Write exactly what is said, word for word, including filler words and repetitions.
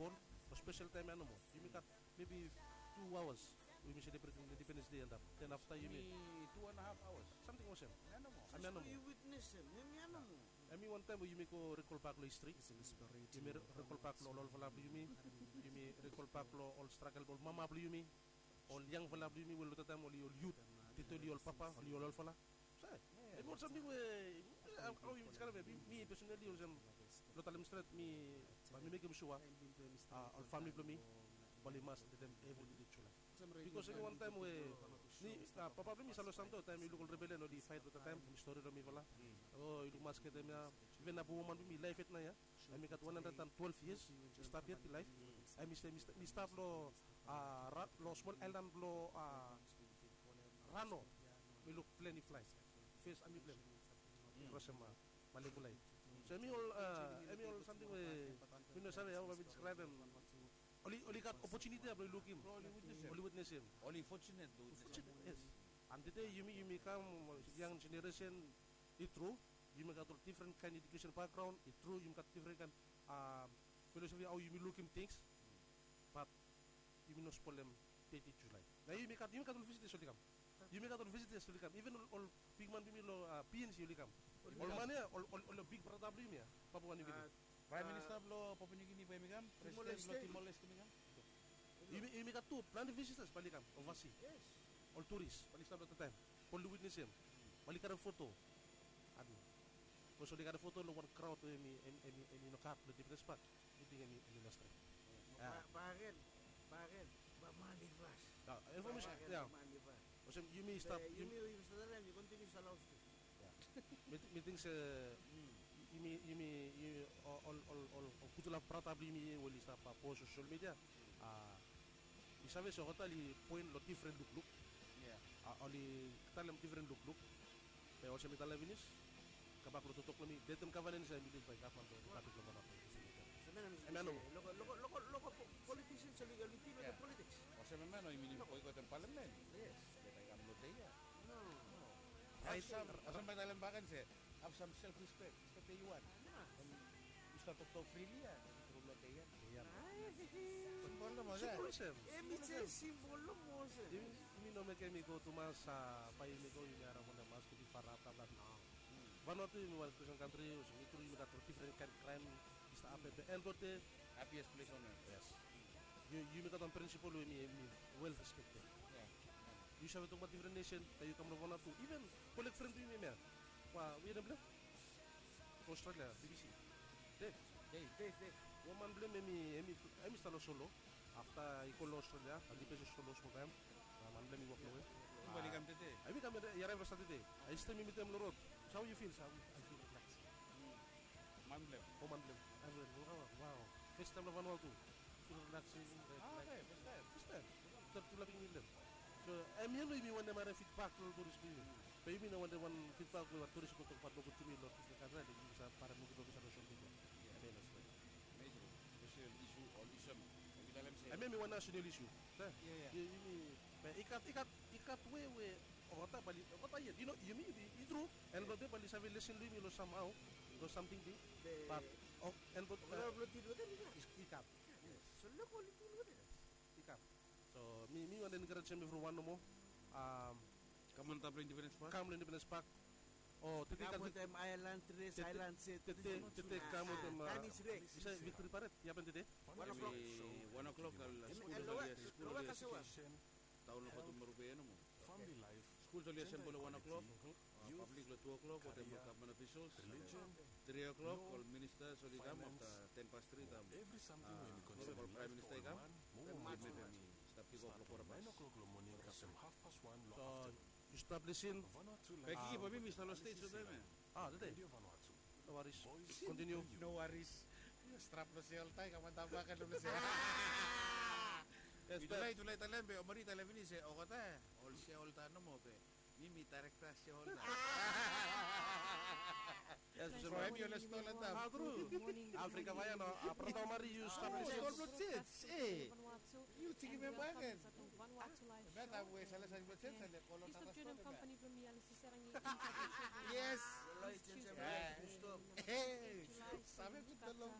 Bol, long spesel taem ia nomo. Yumi gat mebi tu aoas we yumi selebretem Independens Dei antap. Den afta yumi tu and a haf aoas, samting olsem. Hemia nomo. Hemia nomo. Yu witnesem hemia nomo. Hemi wan taem we yumi go rikolbak long histri. Yumi rikolbak long ol olfala blong yumi. Yumi rikolbak long ol stragel blong ol mama blong yumi, ol yangfala blong yumi we long dat taem oli ol yut, tete oli ol papa, oli ol olfala. Hemi ol samting we, hao yumi diskaraem ya. Mi, mi pesonali olsem, blong talem stret, mi bae mi mekem sua ol famili blong mi bae oli mas letem evri dei Julae. Bikos hemi wan taem we mi, papa blong mi i stap long Santo, taem i luk ol rebelian oli faet long dat taem, hemi stori long mifala. O, i luk masket hemia. Iven abu woman blong mi i laef yet naoia. Hemi gat wan handred and twelef yias i stap yet i laef. Hemi stap long, long smol aelan blong Rano. Mi luk plen i flae. Fes ami blong hem i krosem Malikulai. So hemi ol, hemi ol samting we mi no save hao bae mi diskaraebem. Oli, oli gat opotuniti ya blong oli lukim, oli witnesem. Oli fortunate blong witnesem. Fortunate, yes. And tede yumi, yumi kam, yang jeneresen, i tru, yumi gat ol difren kaen edukesen bakgraon, i tru, yumi gat difren kaen filosofi hao yumi lukim tings. Bat yumi no spolem dei Julae. Nao yumi gat, yumi gat ol visitas oli kam. Yumi gat ol visitas oli kam. Iven ol, ol bigman blong yumi long P N C oli kam. Ol man ya, ol, ol, ol big brata blong yumi ya, Papua New Guinea. Praem Minista blong Papua New Guinea bae hemi kam, presiden blong Timor-Leste hemi kam. Yumi, yumi gat tu plante visitas bae oli kam, ovasi. Ol turis bae oli stap long dat taem, bae oli witnesem, bae oli karem foto. Adi. Bikos oli karem foto long wan kraod we hemi, hemi, hemi no gat long Independens Pak. Mi ting hemi, hemi no stret. Bagen, bagen, bae mani fas. Infomesen ya. Olsem yumi stap, yumi, yumi stap long haos tu. Mi ting se yumi, yumi, ol, ol, ol gudfala brata blong yumi we oli stap post long sosel midia, mi save se olgeta oli poen long difren lukluk. Oli talem difren lukluk. Be olsem mi talem finis, kambak long toktok blong mi, detem gavman ya i bilif bae gavman blong ripablik blong Vanuatu. Hemia nomo. Loko, loko, loko, loko politisians oli, oli dil wetem politiks. Olsem hemia nomo, i minim boikotem palamen. Yes. Be bae i kam long dei ya. No. Raet. Olsem bae talem bakegen se have some self respect. Respect that you want. Yu stap toktok frili ya, tru long dei ya. Simbol nomo olsem. Hemi jes simbol nomo olsem. Yumi no mekem i go tumas, bae yumi go yumi harem wanem, maski i farap, bla bla, no. Vanuatu yumi wan Kristen kantri, olsem i tru yumi gat ol difren kaen kraem i stap hapen, be end of the day, happiest place on earth. Yes. Yumi gat wan prinsipol we hemi, hemi wel respekted. Yu save tokbaot difren nesen, be yu kam long Vanuatu, iven kolek fren blong yumi hemia. Wa, we nem blong hem? Australia, B B C. Dave. Dave, Dave, Dave. Wan man blong hem, hemi, hemi, hemi stap long solo. Afta i go long Australia, a lipes long solo smol taem. Na man blong hem i wok long we. Hemi kam tede. Hemi kam, i araev long Satade. I stap mitim hem long rod. So how you feel, sir? I feel relaxed. Man blong hem. O, man blong hem. Wow. Fes taem long Vanuatu. Feel relaxing, relaxing. Fes taem. Fes taem. Stap tu laping mi blong hem. So hemia nomo yumi wantem harem fidbak long ol turis blong yumi. Be yumi no wantem wan fidbak we ol turis i go tokbaot nogud tu yumi long difren kantri, yumi save harem nogud long sosel midia. Hemia i no stret. Amazing. Special issue, ol issue. Hemia hemi wan national issue. Yumi, be i gat, i gat, i gat we, we olgeta bae oli, olgeta yet, yu no, yumi, i tru, end blong dei bae oli save lesen long yumi long somehow, long samting big. Bat end blong, i gat. So loko oli dil wetem. I kam. So mi, mi wantem enkarejem evriwan nomo. Kam antap long Independens Pak. Kam long Independens Pak. O, tede kam wetem aelan dres, aelan set. Tede, tede kam wetem, yu save Victory Parade i hapen tede? Wan o'clock. Wan o'clock, ol skul oli, skul oli taon long Fatumarupe ya nomo. Skul oli asembol long wan o'clock. Pablik long tu o'clock, wetem ol gavman ofisals. Tri o'clock ol ministas oli kam, afta ten past tri taem ol Praem Minista i kam. Taem i stap kikof long kwota past. So yu stap lisin. Be Kiki, bae mi, mi stap long stage long taem ya. A, tede. No waris. Kontiniu. No waris. Strap long se oltaem, kam antap bakegen long se. Mi tu lae, tu lae talem be Omari i talem finis se olgeta ol se oltaem nomo be mi, mi daerekta se oltaem. Yes, olsem. Tru. Afrika Vaea no, a, brata Omari, yu stap long stage. Yu tekem hem bakegen. Hemia taem we Salesa Richardson, Salesa Richardson. Yes. Save gud long